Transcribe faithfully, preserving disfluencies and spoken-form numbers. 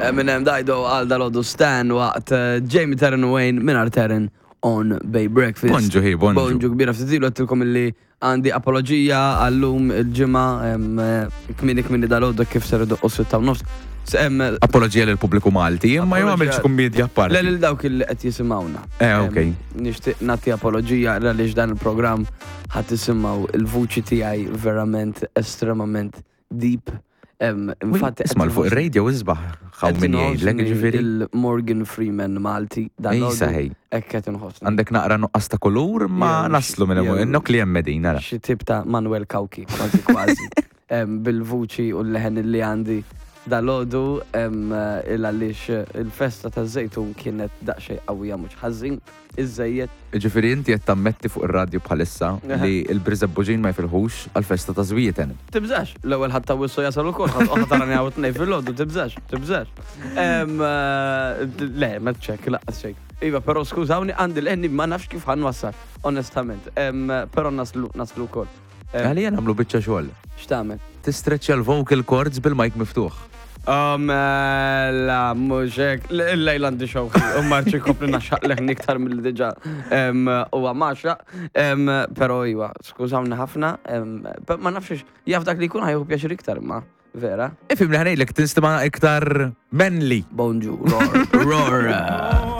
Eminem Dido għal dal-għodu Stan waqt eh, Jamie Taryn Wayne minn Taryn on Bay Breakfast. Bonġu, hi, bonġu. Bonġu kbira ftit ilu għedtilkom illi għandi apologija għallum il-ġimgħa em, eh, kmieni kmieni dal-għodu kif ser idoqqu sitta u nofs. S- em, Apologija lill pubbliku Malti, imma jew Apologija- għamilx kummedja apparti. Le lil dawk illi qed jisimgħuna. Eh, ok. Em, Nixtieq nagħti apologija għaliex dan il-programm ħadd tisimgħu il-vuċi tiegħi verament estremament deep. Em, Infatti Isma' l fuq ir-radio isbaħ ħaw qed min jgħidlek inħossni ġifieri. Il-Morgan Freeman Malti dan Ejsa ħej. hekk qed inħossni. Għandek naqra nuqqas ta' kulur ma Jew naslu minn jew- hemm nok li hemm medin nara. Xi tip ta' Manuel Cauchi, kważi kważi. Em, Bil-vuċi u l-leħen li għandi dal-għodu il għaliex il-festa ta' żejtun kienet daqsxejn qawwija mhux ħażin, iżejjed. Ġifieri inti qed tammetti fuq ir-radju bħalissa li l-Birżebbuġin ma jfilħux għal-festa ta' Żwieten. Tibżax, l-ewwel ħadd ta' wissu jasal ukoll, ħadd oħra tarani hawn tnejn fil-għodu, tibżax, tibżax. Em, eh, Le, ma ċek, laqqas xejn. Iva, però skużawni għandi l-enni ma nafx kif ħa nwassal, onestament. Em, Però naslu, naslu wkoll. Em, Għalija nagħmlu biċċa xogħol. X'tagħmel? Tistreċċja l-vocal cords bil-mic miftuħ. Um, la, mhux hekk, il-lejla għandi xewħi, u marċi kopli naxxaq leħni iktar mill diġà u għamaxa, però iva, skużawni ħafna, em, pe- ma nafx, jaf dak li jkun ħa jieħu pjaċir iktar ma, vera. Ifhem li ħa ngħidlek tinstema' iktar manly. Bonġu, roar, roar.